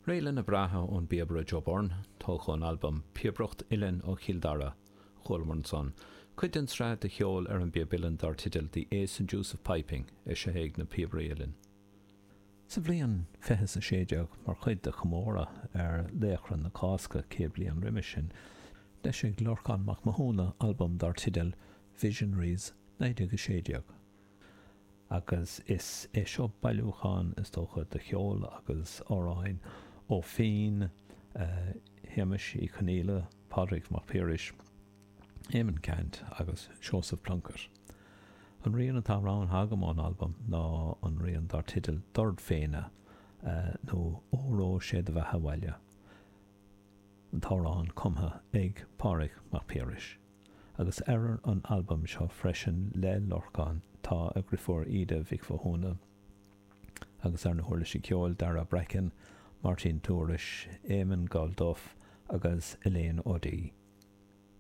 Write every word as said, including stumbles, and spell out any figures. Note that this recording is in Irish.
Réileanna breátha ón bpíobaire Joe Byrne, tógtha ón albam Píobaireacht Uilleann ó Chill Dara, chualamar ansan. Cuid den tsraith de cheol ar an bpíob uilleann dar teideal The Ace and Deuce of Piping, eisithe ag na Píobairí Uilleann. Sa bhliain fiche a sé déag, mar chuid de chomóradh ar Laochra na Cásca céad bliain roimhe sin, d'eisigh Lorcán Mac Mathúna albam dar teideal Visionaries naoi déag a sé déag. Agus is é seo bailiúchán, is dócha, de cheol agus amhráin ó phinn Shéamais Uí Chonaola, Pádraig Mac Piarais, Éamonn Ceannt agus Seosamh Plunkett. An rian atá roghnaithe agam ón albam ná an rian dar teideal Dord Féine nó Óró Sé do Bheatha 'Bhaile, an t-amhrán cumtha ag Pádraig Mac Piarais. Agus ar an albam seo freisin le Lorcán tá a dheirfiúr Íde Mhic Mhathúna agus ar na huirlisí ceoil Dara Bracken, Máirtín Tourish, Éamon Gall Duff agus Elaine O'Dea.